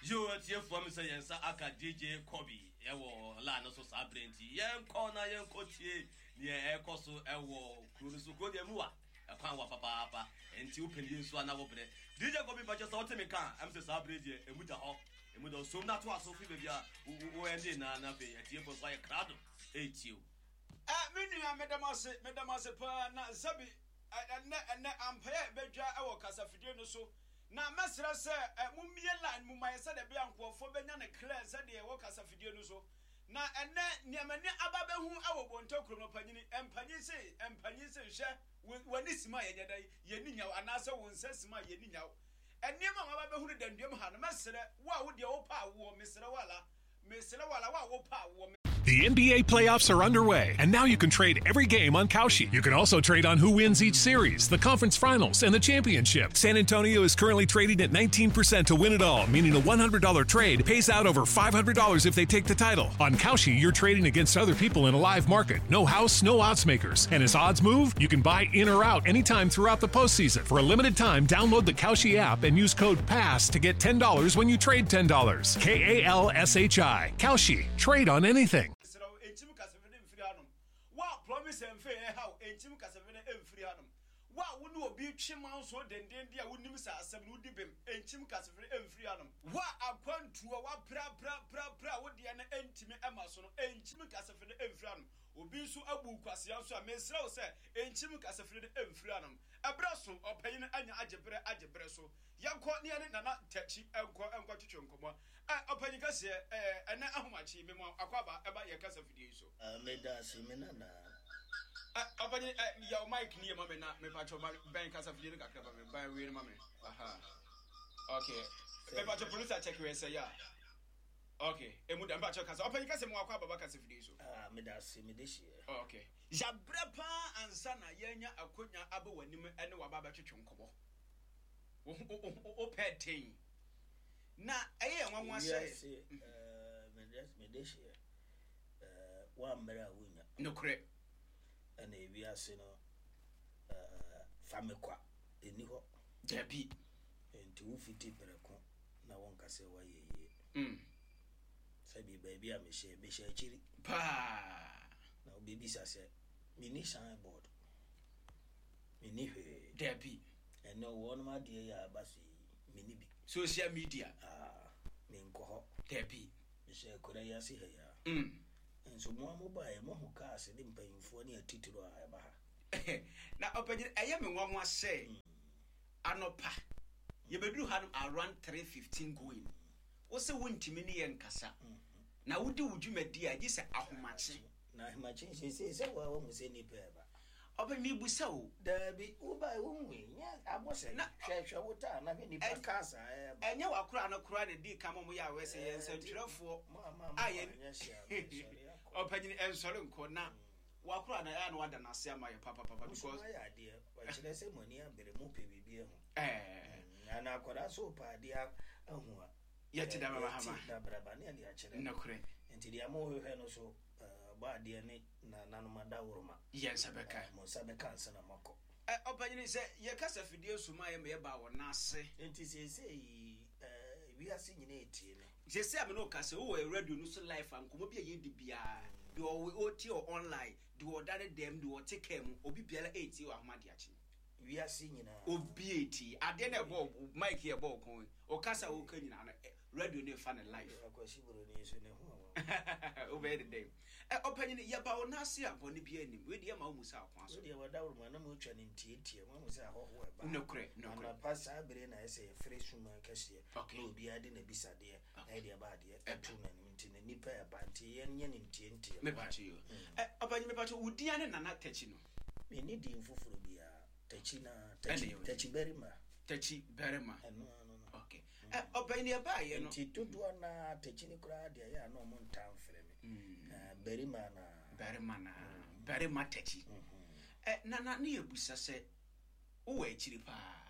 Yo atiefoɔ me sɛ yɛn nsa aka DJ Kobi ɛwɔ line no so saa berɛ nti yɛnkɔ na yɛnkɔ tie neɛ ɛkɔ so ɛwɔ kuro no so. Kuro deɛ mu wa ɛkwan wa papaapa nti wopɛ ne yɛ nsuo ana wo berɛ. DJ Kobi mpakyɛ sɛ wote me nka a ɛm sɛ saa berɛ deɛ ɛmu da hɔ ɛmu da hɔ som na toa so firi baabi a wo ɛnde na na afei atiefoɔ nso ayɛ krado ɛretie wo. Eh, me nua, meda mo ase, meda mo ase paa. Na Zabi, ɛnnɛ, ɛnnɛ, ampaeɛ a ɛbɛdwa wɔ kasafidie no so. Na mɛsrɛ sɛ, eh, mommie line mu ma yɛ sɛdeɛ ɛbɛyɛ a nkurɔfoɔ bɛnya no clear sɛdeɛ ɛwɔ kasafidie no so. Na ɛnnɛ, nea m'ani aba abɛhu wɔ Bonto kurom no, ɔpanyini, mpanyin se, mpanyin se, hwɛ, wo, w'ani sim a yɛnyɛ dɛn, yɛnni nyaw, anaasɛ wo nsa sim a yɛnni nyaw. Nneɛma a maba abɛhu no danduam ha no, mɛsrɛ, wo a wo deɛ wopɛ awoɔ, mesrɛ wo ala, mesrɛ wo ala, wo a wopɛ awoɔ, The NBA playoffs are underway, and now you can trade every game on Kalshi. You can also trade on who wins each series, the conference finals, and the championship. San Antonio is currently trading at 19% to win it all, meaning a $100 trade pays out over $500 if they take the title. On Kalshi, you're trading against other people in a live market. No house, no odds makers. And as odds move, you can buy in or out anytime throughout the postseason. For a limited time, download the Kalshi app and use code PASS to get $10 when you trade $10. K A L S H I. Kalshi. Trade on anything. Mesrɛ wo, nkyim kasafiri no mfiri hanom. Wo a promise mfe ɛha wo, nkyim kasafiri no mfiri hanom. Wo a wo ne obi retwe manso dendeenden a wonim sɛ asɛm no wodi bem, nkyim kasafiri mfiri hanom. Wo a akwantuo woaprapraprapra a wo deɛ no ntumi mma so no, nkyim kasafiri no mfiri hanom. Obi nso abu wo kwasea nso a, mesrɛ wo sɛ nkyim kasafiri no mfiri hanom. Ɛberɛ so, ɔpanyin anya agye berɛ agye berɛ so. Yɛnkɔ ne yɛne Nana Takyi nkɔ nkɔtwetwe nkɔmmɔ. Ɛ, ɔpanyin kɛseɛ, ɛ, ɛnɛ ahomakye yi, mema wo akwaaba ɛba yɛn kasa fidie yi so. Ah, meda ase, me nana. Ɛ, ɔpanyin, ɛ, yɛ wo mic ni yɛ ma me na, mepakyɛw, ma, bɛn kasa fidie no kakra ma me, bɛn wei no ma me. Aha. Okay. Mepakyɛw, producer check wei sɛ, ya. Okay, emu da, mepakyɛw kasa. Ɔpanyin kɛseɛ, mema wo akwaaba ba kasa fidie yi so. Ah, meda ase, mede hyeɛ. Okay. Yɛabrɛ paa ansa na yɛanya akonya aba w'anim ne wo aba abɛtwetwe nkɔmmɔ. Wo ho, wo, wo, wopɛ den. Na ɛyɛ yɛn nwanwa sɛ. Wiase, eh, mede hyeɛ, eh, woammrɛ a wonnya. Nokorɛ. Ɛna ewiase no, eh, fa me kwa, ɛnni hɔ. Dabi. Nti wofiti prɛko na wonka sɛ woayɛ yie. Sɛbi baabi a mehyɛ, mehyɛ akyiri. Paa. Na wobɛbisa sɛ, menni sign board, menni hwee. Dabi. Ɛnɛ wɔnom adeɛ yi a aba so yi, menni bi. Social media. Ah, menkɔ hɔ. Dabi. Mehyɛ akura yi ase ha yi a. Nso mo a mobaeɛ, moahu cars ne mpanyimfoɔ ne atitiriw a ɛba ha. Na ɔpanyin, ɛyɛ me nwanwa sɛ anɔpa yɛbɛduru hanom around 3:15 going. Wo se wontumi ne yɛn nkasa, na wodi wo dwumadi a gye sɛ ahomakye. Na ahomakye seesei sɛ wo a woahu sɛ nnipa reba. Ɔpɛ mebisa o. Daabi, wobae wonhui, nyɛ abɔ sɛ Na hwɛ hwɛ wo taa na hwɛ nnipa cars a ɛreba. Ɛnyɛ w'akoraa no koraa na edii kan ma wɔyɛɛ aware sɛ yɛn nsɛntwerɛfoɔ Mo a mo a a yɛn anyɛ hye a mensɔre akɔ. Ɔpanyin ɛnsɔre nkɔ na w'akoraa no ɛyɛ a na wada no ase ama yɛ papapapa Mo nso because. moayɛ adeɛ, ɛkyerɛ sɛ mo ani abere, mopɛ biribi ahu. Ɛɛ. Na akwadaa nso repɛ adeɛ ahu a. Yɛte dabraba. Yɛte dabraba ne yɛde akyerɛ no. Nokorɛ. Nti deɛ mohwehwɛ no so bɔ adeɛ ne nananom adaworoma. Yɛn nsa bɛka. Mo nsa bɛka ansa na moakɔ. Ɛ, ɔpanyin, sɛ yɛka sɛ afidie nso ma yɛ ma yɛbaa wɔn nan ase. Nti seesei wiase nyinaa retie me. Seesei a me ne wo kasa yi, wowɔ radio no so live a, nkɔmmɔ bi a yɛredi biara, deɛ ɔwɔ, ɔretie wɔ online, deɛ ɔda ne dan mu, deɛ ɔte kaa mu, obi biara retie wɔ ahomadeakye. Wiase nyinaa. Obi retie. Adeɛ no a ɛbɔ wo, mic yi a ɛbɔ wo kɔn yi, wo kasa a woreka nyinaa no, radio no refa no live. Akwasi Buroni nso ne ho a wawu. Wobɛyɛ ne dɛn? Ɛ, ɔpanyin, yɛba wo nan ase a, bɔne biara nnim. Wei deɛ, yɛmma wo mmu saa ɔkwan so. Wo deɛ, w'adawuruma na motwa no ntiantia. Moahu sɛ ahɔhoɔ reba ha. Nokorɛ, nokorɛ. Anɔpa saa berɛ yi na ayɛ sɛ yɛfrɛ sum kɛseɛ, Okay. na obiara de n'abisadeɛ na yɛde aba adeɛ Ɛba. to n'anim. Nti no, nnipa reba, nti yɛnyɛ no ntiantia. Mepakyɛ yi o. Ɛ, ɔpanyin, mepakyɛ, wo din ara ne Nana Takyi no? Menni din foforɔ biara. Takyi no ara. Ɛna Takyi, ɛyɛ wo din. Takyi Barima. Takyi Barima. Ɛno ara no no. Okay. Ɛ, ɔpanyin, yɛbaeɛ no. Nti dodoɔ no ara, Takyi no koraa deɛ, ɛyɛ a na wɔntaa mfrɛ me. Barima no ara. Barima no ara. Barima Takyi. Ɛ, Nana, ne yɛbisa sɛ, wowɔ akyiri paa?